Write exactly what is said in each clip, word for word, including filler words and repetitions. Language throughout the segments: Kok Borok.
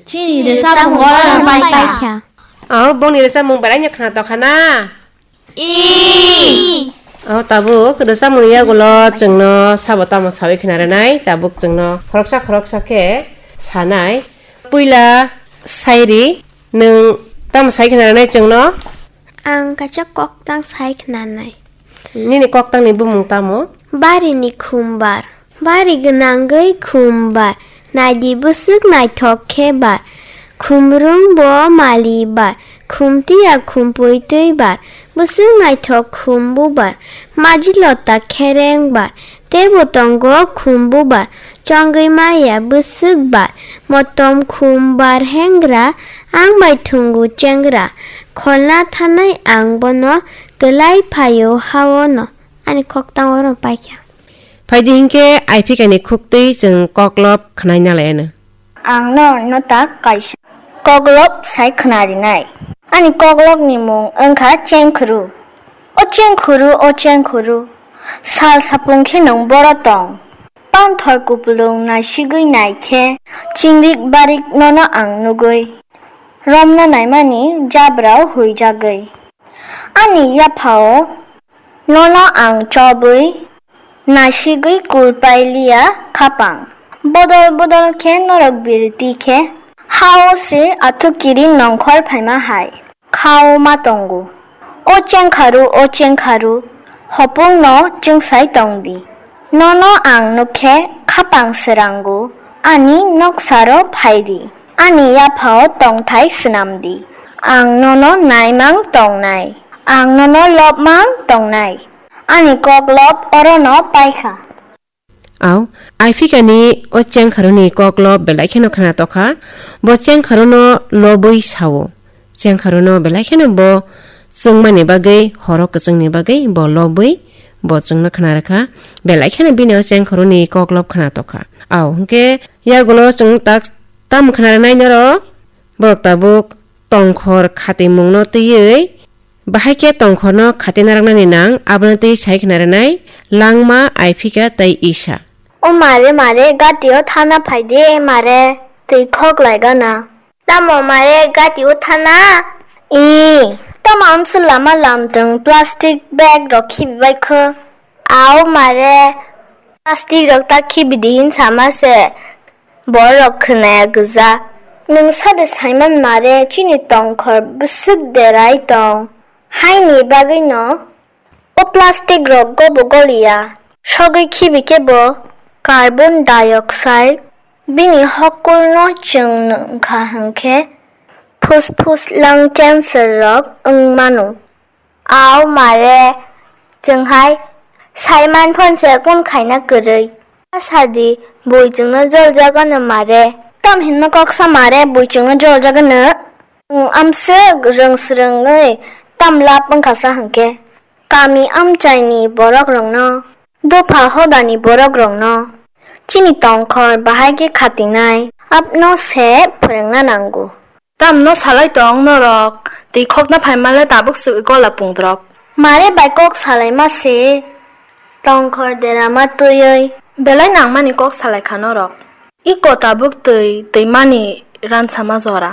Chini rwchapmung oro paikha. O, bongni rwchapmung belai no khna tokha na? I. O, tabuk rwchapmung yagulo chwngno sabo tamo sawi khna rwnai, tabuk chwngno khoroksa khoroksa khe sanai. Puila sairi, nwng tamo sai khna rwnai chwngno? Ang kaisa koktang sai khnanai. Nini koktangni bumung tamo? Barini khumbar. Bari gwnangwi khum bar, naidi bwswk naithok khe bar. Khumrwng bo mali bar, khumtiya khumpui twi bar, bwswk naithok khum bubar. Maji lota khereng bar, teibo tongo khum bubar. Chongwi maya bwswk bar, motom khum bar hengra, ang bai thwngo chengra. Kholna thanai ang bono, kwlai phaio haono. Ani koktang oro paikha. Phaidi hinkhe Aifika ni khuktwi chwng koklop khwnai nalaiyano. Ang no nota kaisa koklop sai khwnarinai. Ani koklop ni mung wngkha Chengkhuru. O Chengkhuru, o Chengkhuru, sal sapung khe nwng boro tong. Panthor kupulung naisigwi nai khe chingrik barik nono ang nugwi. Romna naimani jabrao huijagwi. Ani yaphao nono ang chobwi, nasigwi kulpai liya khapang. Bodol bodol khe norok birti khe, hao se athukiri nongkhor phaima hai khao ma tongo. O Chengkharu, o Chengkharu, hopungno chwngsai tongdi. Nono ang nukkhe khapang srango, ani noksaro phaidi. Ani yaphao tongthai swnamdi. Ang nono naimang tongnai. Ang nono lobmang tongnai. Ani koklop orono paikha. Au, Aifika ni o Chengkharu ni koklop belai kheno khna tokha. Bo Chengkharu no lobwi sao. Chengkharu no belai kheno bo chwngmani bagwi, horo kwchwngni bagwi bo lobwi bo chwngno khna rwkha. Belai kheno bini o Chengkharu ni koklop khna tokha. Au, hinkhe yagulo chwng tak tam khna rwnai norok. Borok tabuk tongkhor khatimungno twiwi, bahai khe tongkhorno khatina rwknani nang, abono twi sai khna rwnai Langma, Aifika tei Isa. O mare, mare, gatio thana phai de, mare, twi khok lai gana. Tamo mare, gatio thana? I, tamo amsa lama lamtwng plastic bag rok khibi bai kho. Au mare, plastic rok ta khibi di hin sama se. Borok khwnaya gwja. Nwng sade saiman mare chini tongkhor bwswk derai tong. Haini bagwino o plastic rok gobo goliya. Sogwi khibi khe bo carbon dioxide bini hokulno chwng nwngkha hwnkhe phusphus lung cancer rok wng mano. Au mare, chwng hai saiman phone se kun khaina kwrwi. Sadi, bui chwngno jol jagano mare. Tam hinma kok sa mare, bui chwngno jol jagano. Nwng amswk rwng swrwngwi tam lab wngkha sa hwnkhe. Kami amchaini borok rokno, dopha hodani borok rokno, chini tongkhor bahai khe khatinai, apno se phwrwngna nango. Tamno salai tong norok, twi khokna phaimale tabuk swk gola pungdrop. Mare bai kok salaima se, tongkhor derama twiwi. Belai nangmani kok salai kha norok. Iko tabuk twi, twimani ransama jora.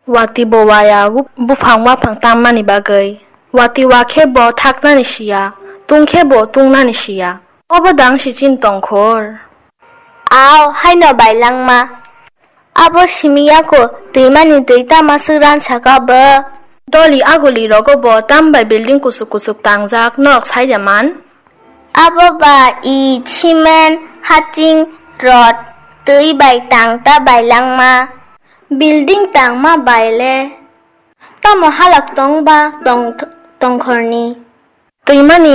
Watwi bo waya, bu-, buphang waphang tammani bagwi. Watwi wa khe bo thaknani siya, tung khe bo tungnani siya. Obo dang si chini tongkhor. Au, haino bailangma. Abo simi yako twimani twi tama swk ran saka bo. Doli aguli rogo bo tam bai building kusuk kusuk tangjak norok sai de man. Abo ba i cement, haching, rod, twi bai tang ta bailangma. Building tangma bai le. Tamo halak tong ba tong, tongkhorni. Twimani